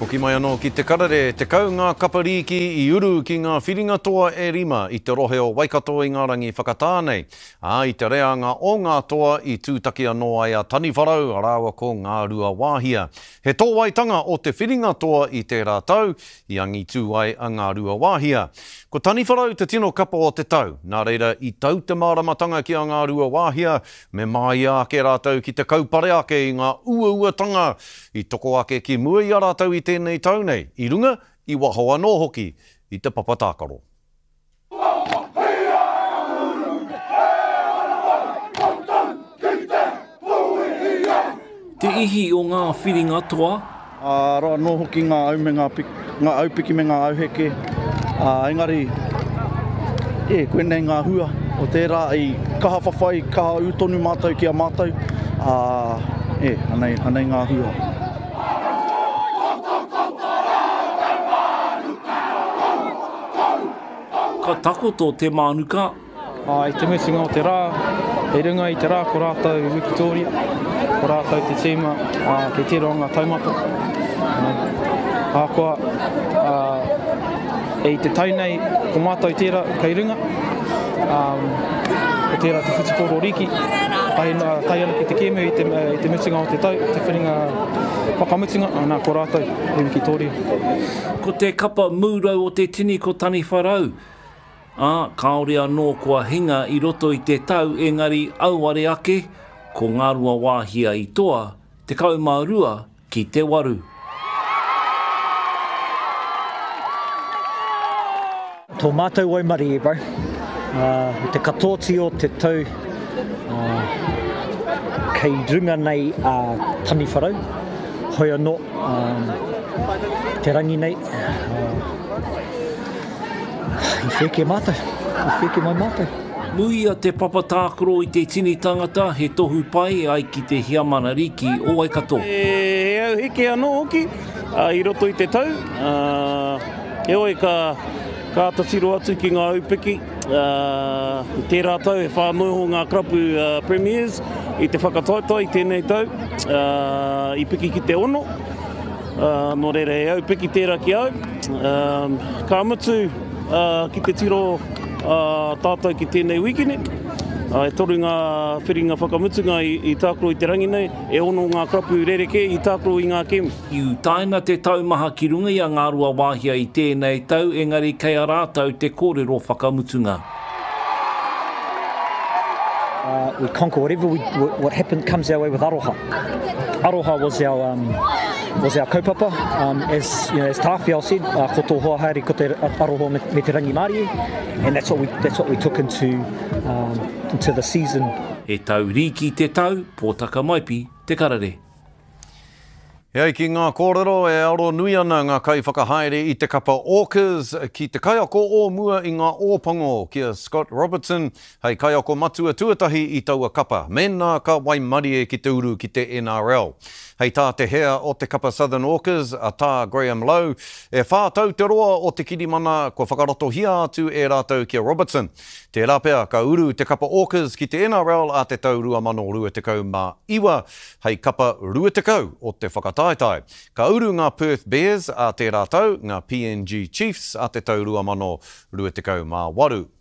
Hoki mai anō ki te karere, 10 ngā kapa rīki i uru ki ngā whiringa toa e rima i te rohe o Waikato i ngā rangi whakatā nei. Ā, i te reanga o ngā toa i tūtaki anō ai a Taniwharau rāua ko Ngāruawāhia. He tōwaitanga o te whiringa toa i tērā tau, i angitū ai a Ngāruawāhia. Ko Taniwharau te tino kapa o te tau, nā reira i tau te māramatanga ki a Ngāruawāhia me māia ake rātou ki te kaupare ake i ngā uauatanga i toko ake ki mua i a rātou i tēnei tau nei, i runga, i waho anō hoki i te papa tākaro. Te ihi o ngā whiringa toa. Arā anō hoki ngā au me ngā ngā aupiki me ngā auheke, ā, engari, e, koinei ngā hua o tērā i kaha whawhai, kaha ū tonu mātou ki a mātou, ā, e, anei, anei ngā hua. Ka takoto te mānuka. Ā, i te mutunga o te rā, i runga i te rā ko rātou wikitōria, ko rātou te tīma, ā, kei tērā o ngā taumata. Ahakoa, ā, i te tau nei, ko mātou tērā kei runga, ā, ko tērā te whutupōro rīki, tae, tae ana ki te kēmu i te, i te mutunga o te tau, te whiringa whakamutunga, ā, nā, ko rātou i wikitōria. Ko te kapa mūrau o te tini ko Taniwharau. Ā, kāore anō kua hinga i roto i te tau engari auare ake, ko Ngāruawāhia i toa, 12 ki te waru. Tō mātou waimarie bro, i te katoati o te tau kei runga nei a Taniwharau, hoi anō te rangi nei, I wheke mātou, i wheke mai mātou. Muia te papa tākaro i te tini tangata, he tohu pai e ai ki te Heamana Rīki o Waikato. He auheke anō hoki i roto i te tau, heoi ka āta tiro atu ki ngā aupiki. I tērā tau e whā noa iho ngā karapu Premiers i te whakataetae i tēnei tau, i piki ki te ono. Nō reira, he aupiki tērā ki au. Ka mutu ki te tiro tātou ki tēnei wīkene. E toru ngā whiringa whakamutunga i tākaro i te rangi nei, e ono ngā karapu rerekē i tākaro i ngā kēmu. I utaina te taumaha ki runga i a Ngāruawāhia i tēnei tau, engari kei a rātou te kōrero whakamutunga. Uh, we conquer whatever we, what happen, comes our way with aroha. Aroha was our, um, was our kaupapa. Um, as, you know, as Tāwhiao said, uh, ko tō hoa haere ko te aroha me, me te rangimārie, and that's what we, that's what we took into, um, into the season. He tau rīki te tau, Pōtaka Maipi, Te Karere. E ai ki ngā kōrero, e aro nui ana ngā kaiwhakahaere i te kapa Orcas ki te kaiako o mua i ngā Ōpango, ki a Scott Robertson, hei kaiako matua tuatahi i taua kapa, mēnā ka waimarie ki te uru ki te NRL. Hei tā te hea o te kapa Southern Orcas, a Tā Graham Lowe, e whā tau te roa o te kirimana kua whakaratohia atu e rātou ki a Robertson. Tērā pea ka uru te kapa Orcas ki te NRL a te tau 2029. Hei kapa 20 o te whakataetae. Ka uru ngā Perth Bears ā tērā tau, ngā PNG Chiefs ā te tau 2028.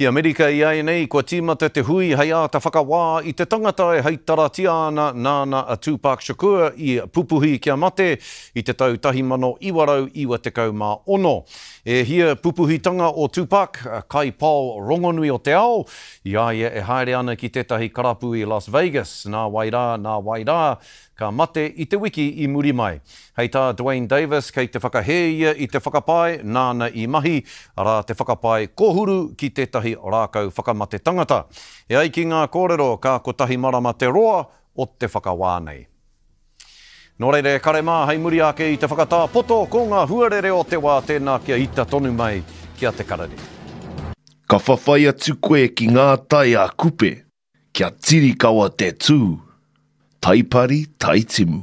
Ki Amerika iaianei, kua tīmata te hui hei āta whakawā i te tangata e heitaratia ana nāna a Tupac Shakur i pupuhi kia mate i te tau 1996. E hia pupuhitanga o Tupac, kaipao rongonui o te ao, I a ia e haere ana ki tētahi karapu i Las Vegas, nā wai rā, nā wai rā, ka mate i te wiki i muri mai. Hei tā Duane Davis, kei te whakahē ia i te whakapae nāna i mahi, arā te whakapae kōhuru ki tētahi rākau whakamate tangata. E ai ki ngā kōrero, ka kotahi marama te roa o te whakawā nei. Nō reira e kare mā, hei muri ake i te whakatā poto, ko ngā huarere o te wā tēnā kia ita tonu mai ki a Te Karere. Ka whawhai atu koe ki ngā tai a Kupe, kia tirikawa te tū, taipari taitimu.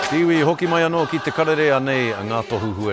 Te iwi, hoki mai anō ki Te Karere, anei ngā tohu huarere.